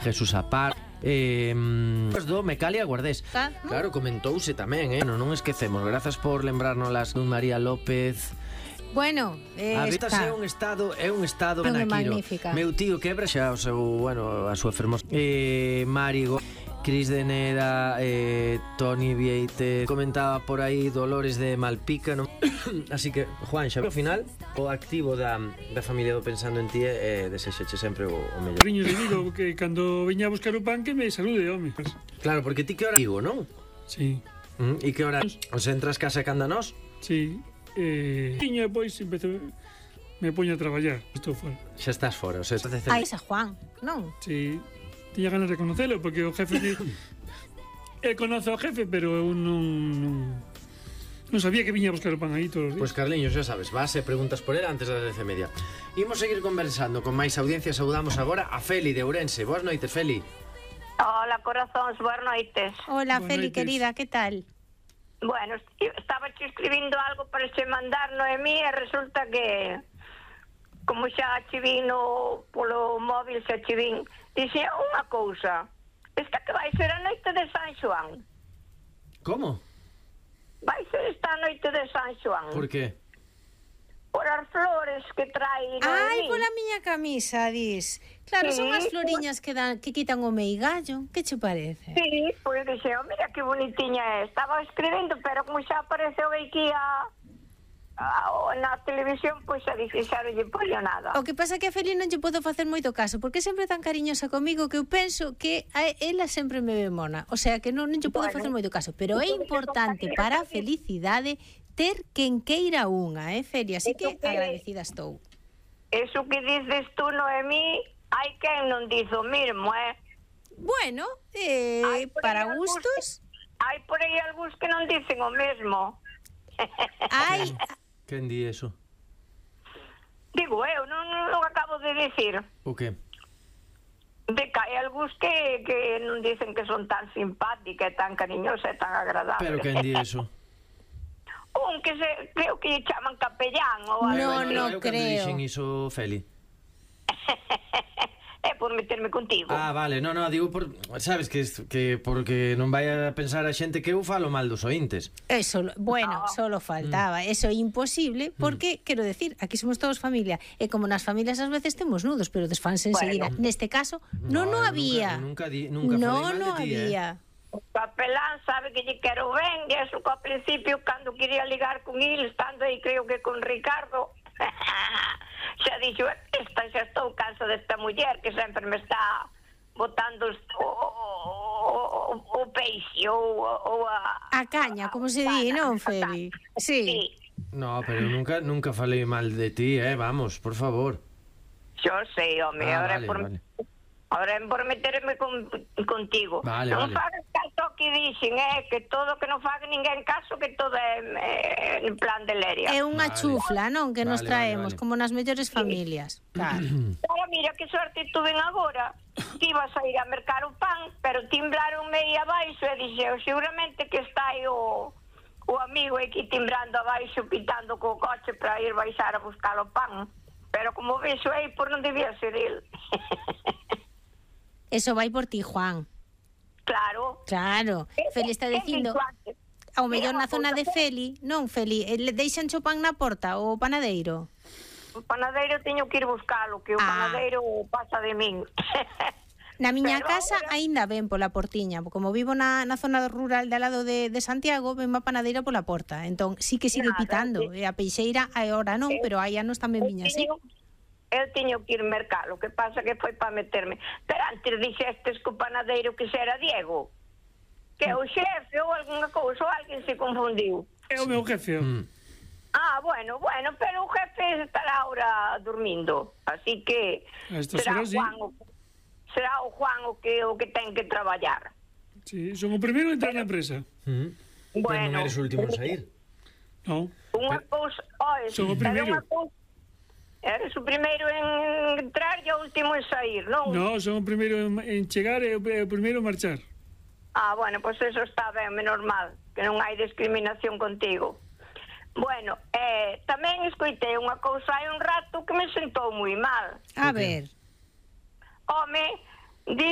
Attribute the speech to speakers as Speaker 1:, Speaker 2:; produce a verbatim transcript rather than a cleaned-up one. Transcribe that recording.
Speaker 1: Jesús Apar, eh, os do Mecalia Guardés.
Speaker 2: Ah, ¿no?
Speaker 1: Claro, comentouse tamén, eh? Non, non esquecemos. Grazas por lembrárnoslas dun María López.
Speaker 2: Bueno, eh,
Speaker 1: A Vitas
Speaker 2: está.
Speaker 1: é un estado, é un estado
Speaker 2: Non é
Speaker 1: naquiro.
Speaker 2: magnífica.
Speaker 1: Meu tío quebra xa o seu, bueno, a súa fermosa. Eh, Marigo, Cris de Neda, eh, Toni Vieite, comentaba por aí Dolores de Malpica, non? Así que, Juan, xa ao final o activo da, da familia do Pensando en Ti é desexeche sempre o, o mellor.
Speaker 3: Riño de digo que cando viña a buscar o pan que me salude, home.
Speaker 1: Claro, porque ti que hora digo, non?
Speaker 3: Sí,
Speaker 1: Mm, e que hora os entras casa canda nós?
Speaker 3: sí. Eh, tiña depois empezo me poño a traballar. Estou fora.
Speaker 1: Xa estás fora, o sea, estás
Speaker 2: Ai, esa Juan, non?
Speaker 3: Sí, tiña ganas de conocelo porque o jefe de... El conoce ao jefe, pero eu non, non non sabía que viña a buscar o pan aí todos os días.
Speaker 1: Pois Carliños, xa sabes, vas e preguntas por él antes das dez e media. Imos seguir conversando con máis audiencia. Saudamos agora a Feli de Ourense. Boas noites, Feli.
Speaker 4: Hola, corazóns, boas noites.
Speaker 2: Hola,
Speaker 3: Boas
Speaker 2: Feli,
Speaker 3: noites.
Speaker 2: querida, que tal?
Speaker 4: Bueno, estaba che escribindo algo para che mandar, Noemí, e resulta que como xa che vino polo móvil, xa che vin, dixe unha cousa. Esta que vai ser a noite de San Xoán.
Speaker 1: Como?
Speaker 4: Vai ser esta noite de San Xoán.
Speaker 1: Por que?
Speaker 4: Por as flores que trae
Speaker 2: Ai,
Speaker 4: Noemí.
Speaker 2: pola miña camisa, dis. Claro, son
Speaker 4: Sí,
Speaker 2: as floriñas que, dan, que quitan o meigallo. Que che parece?
Speaker 4: Sí, pois dixe, oh, mira que bonitiña é. Estaba escribindo, pero como xa apareceu aquí a, a, na televisión, pois xa dixo, xa non lle poño nada.
Speaker 2: O que pasa que a Feli non lle podo facer moito caso, porque é sempre tan cariñosa comigo que eu penso que a ela sempre me ve mona. O sea, que non, non lle podo
Speaker 4: Bueno.
Speaker 2: facer moito caso. Pero é importante para a felicidade ter quen queira unha, eh, Feli? Así que
Speaker 4: Eso que-
Speaker 2: agradecida estou.
Speaker 4: Eso que dices tú, Noemí, hai quen non dice o mismo, eh?
Speaker 2: Bueno, eh,
Speaker 4: Hai por aí
Speaker 2: para
Speaker 4: algúns
Speaker 2: gustos,
Speaker 4: Hai por aí algúns que non dicen o mesmo.
Speaker 2: hai...
Speaker 1: Quen di eso?
Speaker 4: Digo eu, non, non acabo de decir.
Speaker 1: O que?
Speaker 4: De que hai algúns que, que non dicen que son tan simpática e tan cariñosa e tan agradable.
Speaker 1: Pero quen di eso?
Speaker 4: Un que se, creo que lle chaman capellán ou algo
Speaker 2: No,
Speaker 4: así.
Speaker 2: no
Speaker 1: Eu cando
Speaker 2: creo.
Speaker 1: dixen iso, Feli.
Speaker 4: É por meterme contigo.
Speaker 1: Ah, vale, no, no, digo por, sabes que que porque non vai a pensar a xente que eu falo mal dos ointes.
Speaker 2: Eso, bueno, solo faltaba. Eso é imposible porque, quero decir, aquí somos todos familia. E como nas familias ás veces temos nudos, pero desfanse enseguida.
Speaker 4: Bueno.
Speaker 2: Neste caso, non no,
Speaker 1: eu
Speaker 2: había.
Speaker 1: Nunca, nunca, di, nunca
Speaker 2: no,
Speaker 1: falei mal
Speaker 2: no
Speaker 1: de ti,
Speaker 2: había.
Speaker 4: O capelán sabe que lle quero ben, e eso que ao principio, cando quería ligar con ele, estando aí, creo que con Ricardo, xa dixo, esta xa estou cansa desta muller que sempre me está botando o, o, o, o peixe ou, ou a...
Speaker 2: A caña, como se di, non, Feli? Sí.
Speaker 4: Sí,
Speaker 1: eh? No, pero nunca nunca falei mal de ti, eh, vamos, por favor.
Speaker 4: yo sei, home,
Speaker 1: Ah,
Speaker 4: ahora
Speaker 1: vale,
Speaker 4: é por...
Speaker 1: vale.
Speaker 4: Ahora é por meterme con, contigo.
Speaker 1: Vale,
Speaker 4: non
Speaker 1: vale.
Speaker 4: fagas caso que dixen, eh, que todo que non faga ninguén caso, que todo é eh, en plan de leria.
Speaker 2: É unha
Speaker 1: Vale.
Speaker 2: chufla, non? Que nos
Speaker 1: Vale,
Speaker 2: traemos,
Speaker 1: vale, vale.
Speaker 2: como nas mellores familias. Claro.
Speaker 4: Ahora mira que sorte tuve agora, que ibas a ir a mercar o pan, pero timbraronme aí abaixo e dixeu, seguramente que está aí o, o amigo aquí timbrando abaixo, pitando co coche para ir baixar a buscar o pan. Pero como vexo aí, por non debía ser el.
Speaker 2: Eso vai por ti, Juan.
Speaker 4: Claro.
Speaker 2: Claro. Feli está dicindo, ao mellor na zona de Feli, non, Feli, eh, le deixan o pan na porta o panadeiro.
Speaker 4: O panadeiro teño que ir buscalo, que o
Speaker 2: Ah.
Speaker 4: panadeiro pasa de min.
Speaker 2: Na miña
Speaker 4: Pero
Speaker 2: casa
Speaker 4: agora-
Speaker 2: aínda ven pola portiña, como vivo na, na zona rural de al lado de, de Santiago, ven a panadeira pola porta. Entón, sí que sigue
Speaker 4: Nada,
Speaker 2: pitando.
Speaker 4: sí.
Speaker 2: E a peixeira agora non, pero hai anos tamén viña así.
Speaker 4: Teño- Eu teño que ir mercar, o que pasa que foi para meterme. Pero antes dixestes que o panadeiro que xa era Diego, que é o xefe ou algunha cousa, ou alguén se confundiu.
Speaker 3: É o meu jefe.
Speaker 1: Mm.
Speaker 4: Ah, bueno, bueno, pero o jefe estará ahora dormindo, así que
Speaker 3: A estas
Speaker 4: será
Speaker 3: horas, sí.
Speaker 4: Juan o, será o Juan o que o que ten que traballar.
Speaker 3: Sí, son o primeiro a entrar na empresa.
Speaker 1: Mm. Pero
Speaker 4: Bueno.
Speaker 1: non eres o último en sair.
Speaker 3: Non.
Speaker 4: Unha cousa, oi,
Speaker 3: Son o
Speaker 4: era
Speaker 3: primeiro.
Speaker 4: unha cousa- Eres o primeiro en entrar e o último en sair, non?
Speaker 3: Non, son o primeiro en, en chegar e o, e o primeiro en marchar.
Speaker 4: Ah, bueno, pois pues eso está ben, menos mal, que non hai discriminación contigo. Bueno, eh, tamén escoitei unha cousa hai un rato que me sentou moi mal.
Speaker 2: A ver,
Speaker 4: Home,